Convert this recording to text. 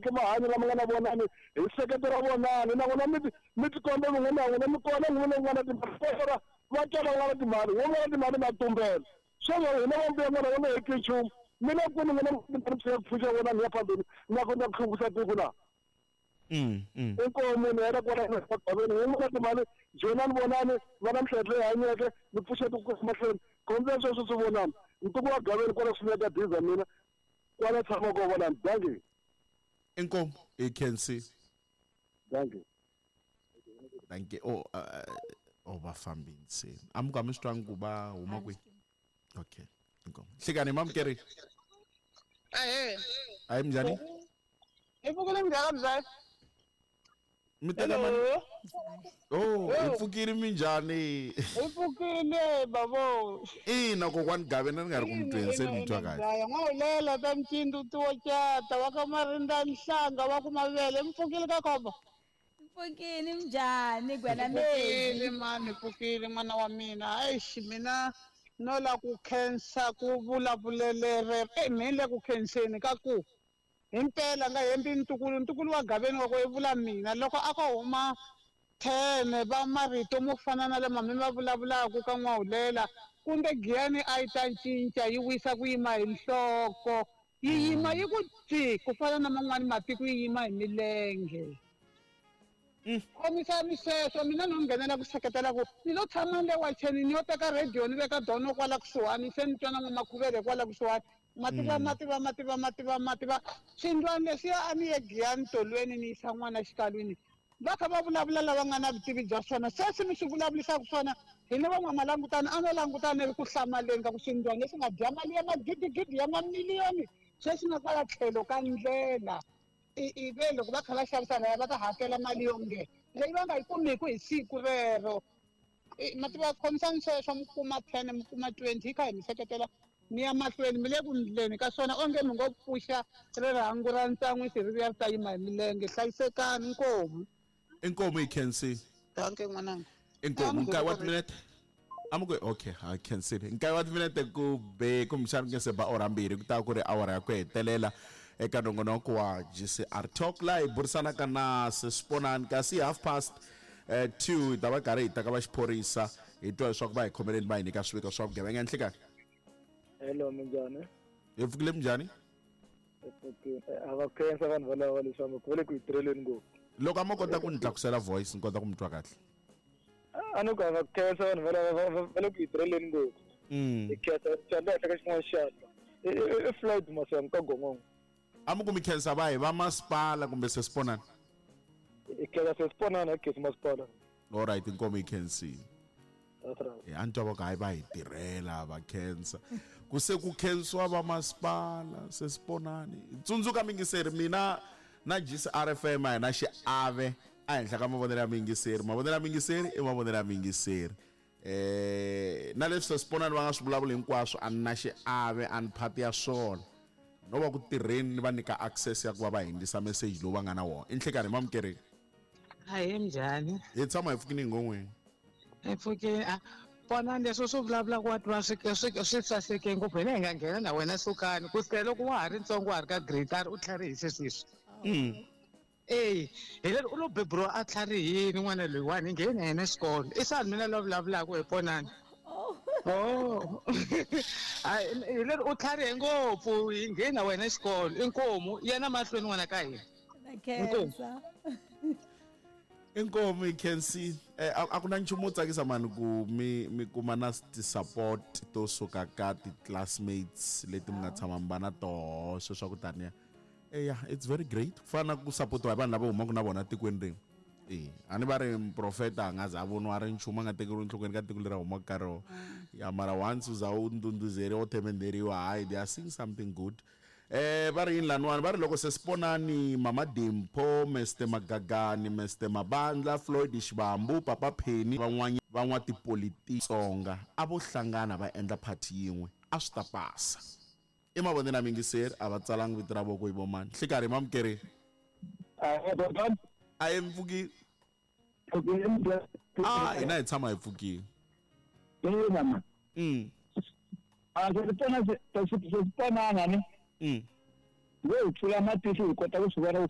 Teki mahanyo lama nga na Vonani, hi seketela Vonani. Na n'wina mi tikomba mi n'wina na n'wina mi kona, n'wina mi nga na timali. Kona va twala va nga na timali, n'wina mi nga na timali ma tumbela. Sweswo hina va mbuya n'wana va nga heti nchumu. Mi le kwini n'wina mi timali mi tshika ku pfuxa Vonani ya phambeni na ku na ku hluvukisa tiko na? Inkomu munhu yena kwala gaveni n'wina mi nga na timali, joyinani Vonani, va na miehleketo leyi hanyeke, mi pfuxa tiko ku ya mahlweni. Khombyeni sweswo swi Vonani. Ntuku wa gaveni kwala kusuhi ka diza mina. Kwala tshama ko Vonani. Dankie. Inkomu, hi khensi. Dankie. Dankie. Oh, oh va fambini se. A mi ku a mi swi twangi ku va huma kwihi? Okay. Inkomu. Hlekani mamukeri. Ahee. Ayi minjhani? Hi pfukile minjhani mzaya? Mi teka mani? Oh, hi pfukile minjhani? Hi pfukile babo. Ina kokwani Gabe na ni nga ri ku mi tweni se mi twa kahle. N'wahulela ta mcindzu tiwo cata wa ka marinda nhlanga wa ku mavele mi pfukile ka khombo. Pfukile minjhani gwena Pfukile mani pfukile n'wana wa mina. Eish mina no la ku khensa ku vulavulelere mi le ku khenseni ka ku himpela nga hembi ntukulu ntukulu wa Gaveni wa ku i vula mina loko a ko huma 10 va marito mo fana na lama mi ma vulavulaka ka N'wahulela kumbe Giyani a yi ta cinca yi wisa ku yima hi nhloko yi yima yi ku tsi ku fana na man'wani matiko yi yima hi milenge. Khomisani sweswo mina no nghenela ku seketela ku ni lo tshama le wacheni ni yo teka radio ni veka dono kwala kusuhani se ni twa na n'wamakhuvele kwala kusuhani mativa mativa mativa mativa mativa swindlwana leswiya a ni ye Giyani tolweni ni yisa n'wana xikalwini va kha va vulavula lava nga na vutivi bya swona sweswi mi swi vulavulisaka swona hi ni van'wamalangutani a no langutana ri ku hlamaleni ka ku swindlwana leswi nga dya mali ya magidigidi ya mamiliyoni sweswi nga kwala tlhelo ka ndlela i ve loko va kha va xavisa laya va ta hakela mali yo nge leyi va nga yi kumiku hi siku rero. Mativa khomisani sweswo mi kuma 10 mi kuma 20 hi kha hi mi seketela mi ya mahlweni mi le ku ndleni ka swona onge mi ngo pfuxa rirhangu ra ntsan'wisi ri vuya ri ta yima hi milenge. Hlayisekani inkomu. Inkomu hi khensile. Dankie n'wananga. Inkomu nkaye wa timinete. Amuke okay, ha khensile. Nkaye wa timinete ku be kumbexana ku nge se ba awara mbirhi ku ta ku ri awara ya ku hetelela eka nongonoko wa GCR Talk laha hi burisanaka na Sesponani kasi 2:30 hi ta va karhi hi ta ka va xiphorisa hi twa leswaku va hi khomeleni va hi nyika swiviko swa vugevenga. Nhlikani. Hello, minjhani? Hi pfukile minjhani? Hi pfukile. A va khensa vanhu valava leswaku va le ku hi tirheleni ngopfu. Loko a mo kota ku ni tlakusela voice ni kota ku mi twa kahle. A ni ku a va khensa vanhu valava va le ku hi tirheleni ngopfu. Hi khensa xandla henhla ka xin'wana xandla. I Floyd Masangu ka Gongongo. A mi ku mi khensa va hi va masipala kumbe Sesponani? Hi khensa Sesponani, hi khensa masipala. All right, inkomu hi khensile. That's right. A ni twa va ku hayi va hi tirhela va khensa. Ku se ku khensiwa va masipala Sesponani. Tsundzuka mingiseri mina na GCR FM a hi na xiave ehenhla ka mavonelo ya miyingiseri. Mavonelo ya miyingiseri i mavonelo ya miyingiseri. Na leswi Sesponani va nga swi vulavuli hinkwaswo a ni na xiave a ni phati ya swona. No va ku tirheni ni va nyika access ya ku va va hindzisa message lowu va nga na wona. I nhlikani hi mamukereni. Ahee minjhani? Hi tshama hi pfukile hi ngon'weni. Hi pfukile a pona leswi swi vulavulaka wa tiva swi swi swi saseke ngopfu hina hi nga nghena na wena sukani ku sukela loko wa ha ri ntsongo wa ha ri ka grade a ri u tlharihise sweswi. Eya hi lero u lo beburiwa a tlharihini n'wana loyiwani hi nghene na yena xikolo i sani mina loyi vulavulaka hi ponani. Oh hi lero u tlharihe ngopfu hi nghene na wena xikolo inkomu yena mahlweni n'wana ka hina. Khensa. Inkomu hi khensile. A ku na nchumu wo tsakisa mani ku mi mi kuma na ti-support to suka ka ti-classmates leti mi nga tshama mi va na toho sweswo ku taniya. Eya, it's very great. Ku fana na ku sapotiwa hi vanhu lava humaka na vona tikweni rin'we. E, a ni va ri muprofeta a nga za a voniwa a ri nchumu a nga tekeriwi enhlokweni ka tiko leri a humaka ka rona. Ya mara once u za u ndhundhuzeriwa u themendheriwa hayi they are seeing something good. Va ri yini laniwani va ri loko Sesponani, Mama Dimpho, Mister Magagani, Mister Mabandla, Floyd Xivambu, Papa Penny van'wanyana van'watipolitiki Tsonga a vo hlangana va endla party yin'we a swi ta pasa. I mavonelo ya miyingiseri a va tsalangi vito ra voko hi vo mani. Nhlikarhi mamukeri. A hi mpfukile. A hina hi tshama hi pfukile. A swi pona swi ponana ni. Lo hi pfula matihlo hi kota ku swi vona ku.